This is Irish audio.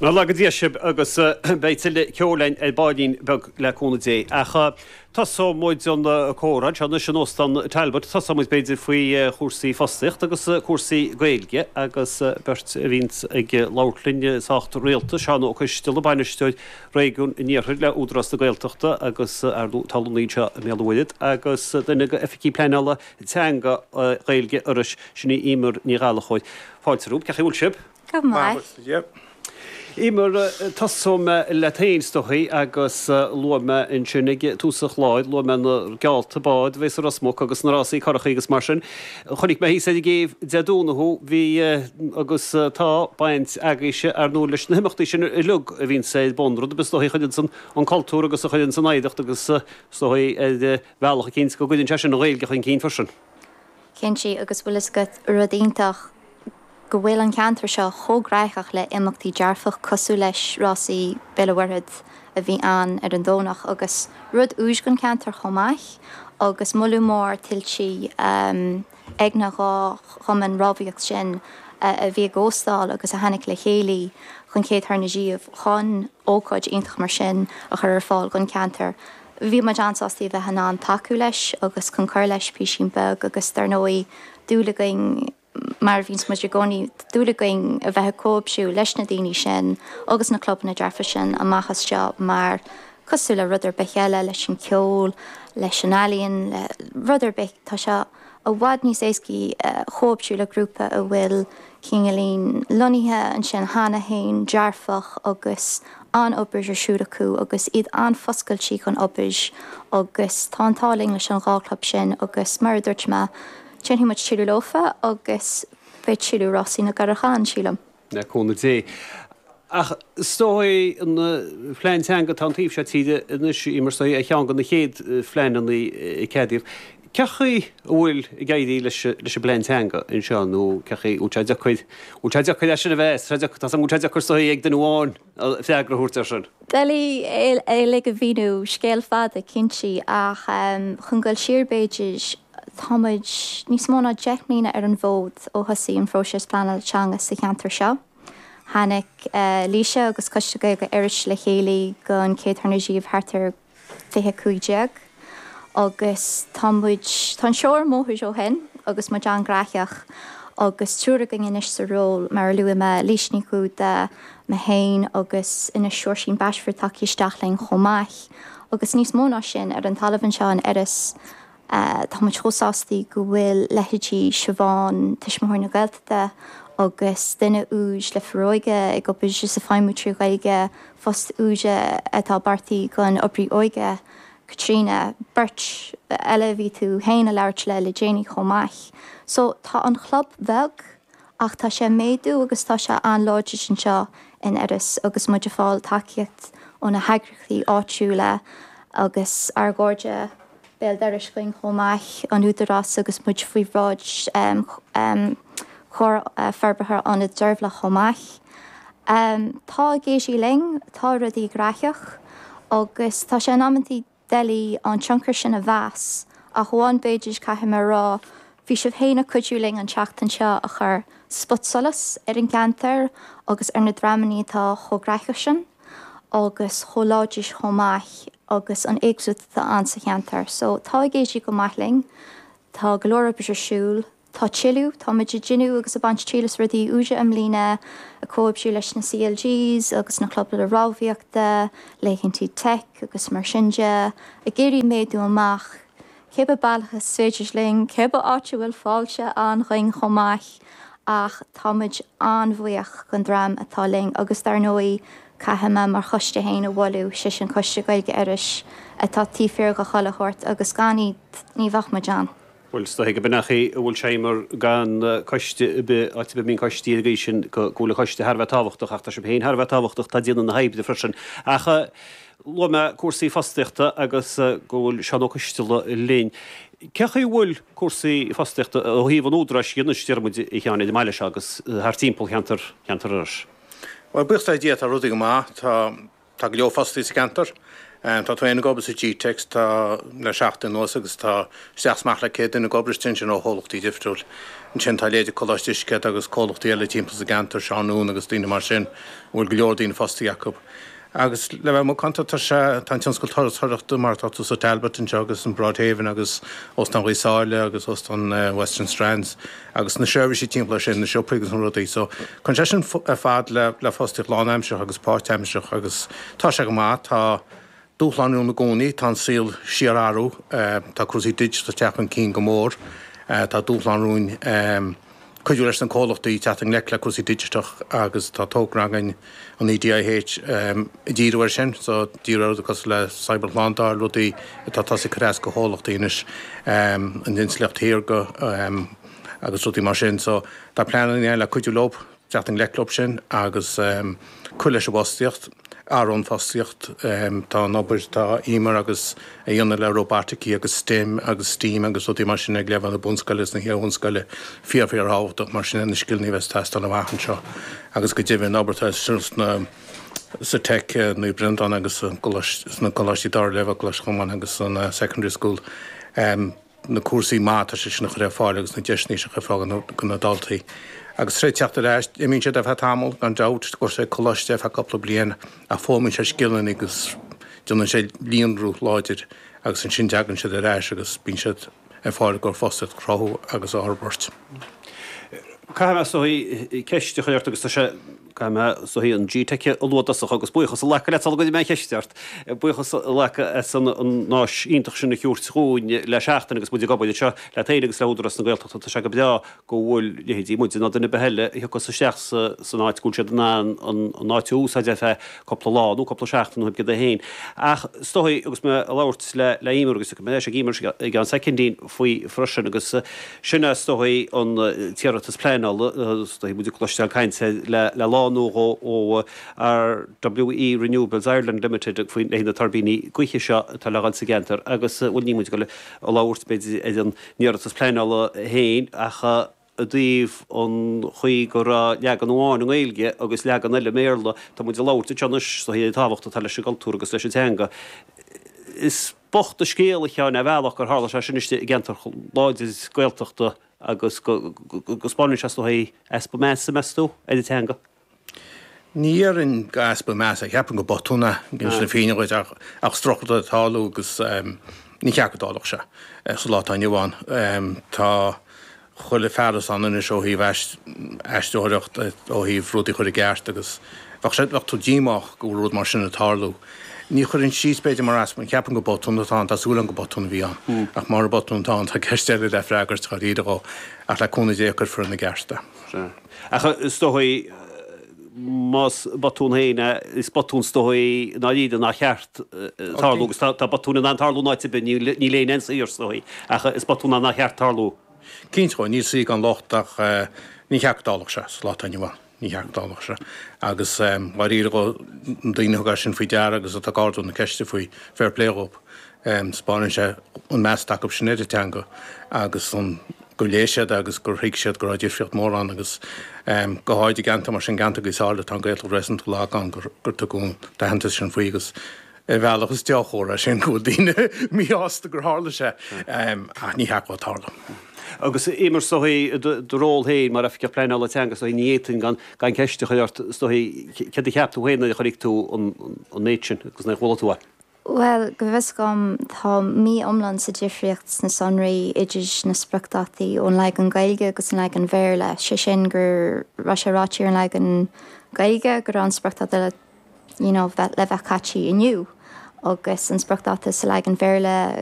Go laga Dia sibh agus beidh tuilleadh ceoil againn ar baillín beag le cúnamh Dé. Ach tosóidh muid an comhrá anseo anois in Óstán Talbot. Tosóidh muid b'fhéidir faoi chúrsaí fostaíochta agus cúrsaí Gaeilge agus beirt a bhíonns ag labhairt linn sách rialta, Seán Ó Coisteala, Bainisteoir Réigiún an Iarthair le Údarás na Gaeltachta agus ar ndóigh tá lonnaithe anseo i mBéal an Mhuirthead agus duine de Oifigigh Pleanála Teanga Ghaeilge Iorrais, sin í Eimear Ní Ghallchóir. Fáilte romhaibh, cén chaoi a bhfuil sibh? Go maith. Eimear, tosóidh mé leat féin, is dóichí, agus luaigh mé ansin ag tús an chláir, luaigh mé na geallta bád a bheas i Ros Muc agus na rásaí curachaí agus mar sin. Chonaic mé thíos ar an gcéibh Dé Domhnaigh thú, bhí agus tá baint agaibhse, ar ndóigh, leis na himeachtaí sin uilig a bhíonns ar bun, rud ar bith is dóichí a chuireanns an cultúr agus a chuireanns an oidhreacht agus is dóichí ar bhealach eicínt go gcuireann sé sin an Ghaeilge chun cinn freisin. Cinnte, agus bhfuil fhios agat rud iontach, go bhfuil an ceantar seo chomh graitheach le imeachtaí dearfach cosúil leis rásaí Béal an Mhuirthead a bhí ann ar an Domhnach agus rud úr don cheantar chomh maith agus moladh mór tuillte ag na dhá chumann rámhaíocht sin a bhí ag óstáil agus a tháinig le chéile chun chéad tuair na díobh chun ócáid iontach mar sin a chur ar fáil don cheantar. Bhí muid an-sásta a bheith in ann tacú leis agus chun cur leis písín beag agus dar ndóigh dúil againn mar a bhíonns muid i gcónaí, dúil againn a bheith ag comhoibriú leis na daoine sin agus na clubanna dearfa sin amach as seo mar, cosúil le rud ar bith eile, leis an ceol, leis an ealaíon, le rud ar bith, tá sé i bhfad níos éascaí comhoibriú le grúpa a bhfuil cineáilín lonnaithe ansin cheana féin, dearfach agus an-obair ar siúl acu agus iad an-fhoscailte chun obair agus tá an t-ádh linn leis an dhá chlub sin agus mar a dúirt mé, Déanfaidh muid tuilleadh leofa agus beidh tuilleadh rásaí na gcurach ann, sílim. Le cúnamh Dé. Ach is dóigh an phlean teanga atá an taobh seo tíre anois, Eimear, is dóigh, ar cheann de na chéad phleananna a ceadaíodh. Cén chaoi a bhfuil ag éirí leis an bplean teanga anseo nó cén chaoi a bhfuil sé deacair, bhfuil sé deacair é sin a mheas, tá sé deacair is dóigh ag duine amháin freagra a thabhairt air sin. Doiligh é uilig a mhíniú, scéal fada, cinnte, ach chun dul siar b'fhéidir, tá muid níos mó ná 10 mbliana ar an bhfód ó thosaigh an phróiseas pleanála teanga sa cheantar seo. Tháinig Laoise agus Coiste Gaeilge Iorrais le chéile don chéad tuair riamh thart ar 2015 agus tá muid, tá an seó ar an mbóthar ó shin agus muid an-ghraitheach agus triúr againn anois sa ról, mar a luaigh mé, Laoise Ní Dhúda, mé féin agus anois Seoirsín Bashford tagtha isteach linn chomh maith agus níos mó ná sin, ar an talamh anseo in Iorras tá muid chomh sástaí go bhfuil leithéidí Siobhán, Tuismitheoirí na Gaeltachta agus duine úr le Foróige ag obair is ag feidhmiú trí Ghaeilge, Post úr atá beartaithe don oibrí óige, Caitríona, beirt eile a bhí tú féin a labhairt le le déanaí chomh maith. So tá an chlub beag ach tá sé ag méadú agus tá sé an-láidir anseo in Iorras agus muid ag fáil tacaíocht ó na heagraíochtaí áitiúla agus ár gcairde béal dorais againn chomh maith, an Údarás agus muid faoi bhráid Chomhar Forbartha Ionad Deirbhile chomh maith. Tá ag éirí linn, tá rudaí graitheach agus tá sé in amantaí doiligh an tionchar sin a mheas ach amháin b'fhéidir, caithfidh mé a rá, bhí sibh féin ag cuidiú linn an tseachtain seo a chur spotsolas ar an gceantar agus ar na dreamannaí atá chomh graitheach sin agus chomh láidir chomh maith agus an éagsúlacht atá ann sa cheantar. So tá ag éirí go maith linn, tá go leor oibre ar siúl. Tá tuilleadh, tá muid ag déanamh agus ag baint triail as rudaí úra i mbliana, ag comhoibriú leis na CLGs agus na clubanna rámhaíochta, laethantaí teic agus mar sin de, ag iarraidh méadú amach cibé bealach is féidir linn, cibé áit a bhfuil fáilte ann dhuinn chomh maith ach tá muid an-bhuíoch den dream atá linn agus dar ndóigh caithfidh mé mar choiste féin a mholadh, sé sin Coiste Gaeilge Iorrais atá taobh thiar de chuile shórt agus gan iad ní bheadh muid ann. Bhuel, is dóiche go b'in an chaoi a bhfuil sé mar gan coiste ar bith, áit ar bith a mbíonn coistí ar an gcaoi sin, go bhfuil an coiste thar a bheith tábhachtach ach tá sibh féin thar a bheith tábhachtach, tá déanamh na hoibre freisin. Ach luaigh mé cúrsaí fostaíochta agus go bhfuil Seán Ó Coisteala linn. Cén chaoi a bhfuil cúrsaí fostaíochta ó thaobh an Údaráis dhe anois, déarfaidh muid, a Sheáin, ar an mbaile seo agus thart timpeall cheantar cheantar Iorrais? Bhuel, buíochas le Dia, tá rudaí go maith. Tá. Tá go leor fostaí sa cheantar. Tá tú féin ag obair sa GTeic tá le seachtain anuas agus tá isteach is amach le 100 duine ag obair istigh ansin ó chomhlachtaí difriúil. Ansin tá leithéidí Coláiste Eiscéad agus comhlachtaí eile timpeall sa gceantar, Seán Noone agus daoine mar sin a bhfuil go leor daoine fostaithe acu. Agus le bheith macánta tá sé, tá an tionscal turasóireachta mar atá tú sa Talbot anseo agus an Broadhaven agus Óstán Ghaoth Sáile agus Óstán Western Strands agus na seirbhísí timpeall air sin, na siopaí agus na rudaí. So cuireann sé sin ar fad le le fostaíocht lánaimseartha agus páirtaimseartha agus tá sé go maith. Tá dúshlán ann i gcónaí, tá an saol síor-athrú, tá cúrsaí digital ag teacht chun cinn go mór, tá dúshlán romhainn cuidiú leis na comhlachtaí teacht i ngleic le cúrsaí digiteach agus tá togra againn, an EDIH, ag díriú air sin, so díriú ar rudaí cosúil le cybershlándáil, rudaí atá tosaithe ag cur as do chomhlachtaí anois, an intleacht shaorga agus rudaí mar sin. So tá pleananna againn le cuidiú leo. teacht i ngleic leo sin agus cur leis an bhfostaíocht, athrú an fostaíocht, tá an obair atá Emer agus a dhéanamh le róbataicí agus STEM agus STEAM agus rudaí mar sin ag leibhéal na bunscoile agus na hiar-bhunscoile fíor fíor thábhachtach mar sin na scileanna a bheas ag teastáil amach anseo agus go deimhin an obair atá sna sa Teic Naomh Breandán agus sna coláistí dara leibhéal, Coláiste Cholmáin agus an Secondary School. na cúrsaí maith atá siad sin a chur ar fáil agus na deiseanna sin a chur ar fáil do na daltaí. Agus tar éis teacht ar ais, imíonn siad ar feadh tamall, gan dabht, gabhfaidh siad coláiste ar feadh cúpla bliain ach foghlaimíonn siad scileanna agus déanann siad líonrú láidir agus ansin tagann siad ar ais agus bíonn siad ar fáil i gcomhair fostaíocht a chruthú agus a fhorbairt. Caithfidh mé is dóigh ceist a chur ort agus tá sé Caithfidh mé is dóigh an GTeic a lua i dtosach agus buíochas a ghlacadh leat sula gcuirfidh mé an cheist ort. Buíochas a ghlacadh as an áis iontach sin a thabhairt dhúinn le seachtain agus muid ag obair anseo leat féin agus le hÚdarás na Gaeltachta. Tá sé go breá go bhfuil leithéidí muide nó duine ar bith eile a thiocfas isteach san áit go bhfuil siad in ann an áit a úsáid ar feadh cúpla lá nó cúpla seachtain nó cibé céard é féin. Ach is dóigh agus mé ag labhairt le Emer agus tiocfaidh mé ar ais ag Emer i gceann soicindín faoi freisin agus Sin é is dóigh an t-iarratas pleanála, is dóigh muid ag cloisteáil caint air le lá nó dhó ó RWE Renewables Ireland Limited faoi leithéid na tuirbíní gaoithe seo atá le dhul sa gceantar agus bhuel níl muid ag dul a labhairt b'fhéidir ar an iarratas pleanála féin ach i dtaobh an chaoi go raibh leagan amháin i nGaeilge agus leagan eile i mBéarla. Tá muid ag labhairt anseo anois is dóigh ar an tábhacht atá leis an gcultúr agus leis an teanga. Is bocht an scéal, a Sheáin, ar bhealach gur tharla sé sin istigh i gceantar láidir Gaeltachta agus go 'spáineann sé is dóigh easpa measa, meas tú, ar an teanga? Ní dhéarfainn gur easpa measa, ceapaim gur botún é, ag insint na fírinne dhuit, ach is drochrud é ag tarlú agus ní cheart go dtarlódh sé sa lá atá inniu ann. Tá. chuile fearas ann anois ó thaobh aistritheoireacht, ó thaobh rudaí a chur i gceart agus bheadh sé, bheadh tú díomách go bhfuil rud mar sin ag tarlú. Ní chuirfinn síos b'fhéidir mar easpa, ceapaim gur botún atá ann, tá súil agam gur botún a bhí ann. Ach mura botún atá ann tá ceist eile le freagairt dháiríre dhó ach le cúnamh Dé cuirfear ina gceart é. Sea. Ach is dóigh más botún féin é, is botún is dóigh i ndáiríre nár cheart tarlú agus tá botúin in ann tarlú in áit ar bith, níl éinne saor is dóigh, ach is botún é nár cheart tarlú. Cinnte, níl saoi gan locht ach ní cheart go dtarlódh sé sa lá atá inniu ann, ní cheart go dtarlódh sé. Agus dháiríre dhó, na daoine a thug é sin faoi deara agus atá ag ardú na ceiste faoi, fair play dhóibh. Spáineann sé an meas atá acu sin ar an teanga agus an gur léigh siad é agus gur thuig siad go raibh difríocht mhór ann agus go háirid i gceantar mar sin, ceantar Ghaoth Sáile, tá an Ghaeltacht réasúnta lag ann, gur tugadh an t-aitheantas sin faoi agus ar bhealach is deá-chomhartha é sin go bhfuil daoine míshásta gur tharla sé ach ní cheart dó tarlú. Agus Emer, is dóigh, do ról féin mar Oifigeach Pleanála Teanga, is dóigh, ní fhéadfainn gan gan ceist a chur ort, is dóigh, céard a cheap tú féin nuair a chonaic tú an méid sin agus nuair a chuala tú é? Bhuel, go bhfios dom, tá mí iomlán sa difríocht sna sonraí idir na spriocdhátaí ón leagan Gaeilge agus an leagan Bhéarla, sé sin go raibh sé ráite ar an leagan Gaeilge go raibh an spriocdháta le you know le bheith caite inniu agus an spriocdháta sa leagan Bhéarla.